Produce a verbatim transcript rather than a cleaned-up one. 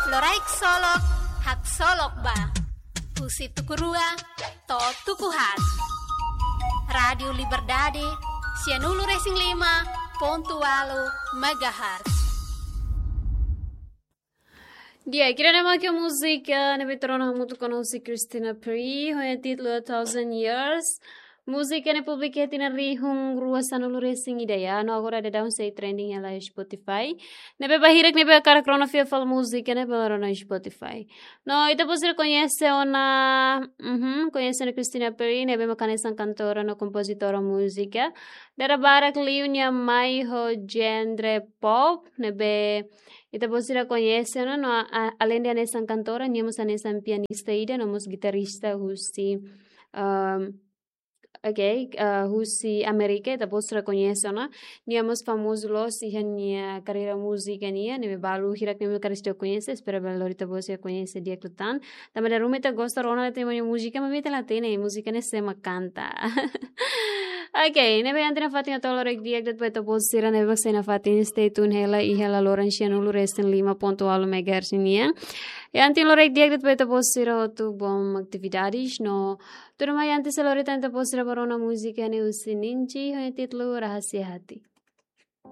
Loraik Solok, haksolok ba. Husi tuku rua to'o tuku haat. Rádiu Liberdade, sianulu-resin-lima pontu ualu megahertz. Di'ak, ida-ne'e mak múzika ne'ebé tuur ona hamutuk ona husi Christina Perri, ho nia títulu A Thousand Years. Múzika ne'e publika iha tinan rihun rua sanulu-resin-ida, no agora daudaun sei trending hela iha Spotify. Ne'ebé ba hirak ne'ebé hakarak rona fila fali múzika ne'e bele rona iha Spotify. No ita-boot sira koñese ona, uhum, koñese ona Christina Perri, ne'ebé mak hanesan kantora no kompozitora múzika. Dada barak liu nia mai ho genre pop, ne'ebé ita-boot sira koñese ona, no a, a, aleinde hanesan kantora, nia mós hanesan pianista ida, no mós gitarrista husi, um, ok, ah, husi Amérika, ita-boot sira koñese ona. Nia mós famozu loos iha nia karreira múzika nian, ne'ebé balu hirak ne'ebé hakarak koñese, espera bele lori ita-boot sira koñese di'ak liután. Tanba dala ruma ita gosta rona de'it nia múzika, maibé ita la hatene múzika ne'e sé mak kanta. Ok, ne'ebé antes nafatin hato'o loraik di'ak de'it ba ita-boot sira ne'ebé mak sei nafatin, stay tune hela iha laloran sianulu-resin-lima pontu ualu megahertz nian. I antes loraik di'ak de'it ba ita-boot sira hotu, bom atividades no tuirmai antes sei lori tan ita-boot sira ba rona múzika ne'e husi Ninji, ho nia títulu Rahasia Hati.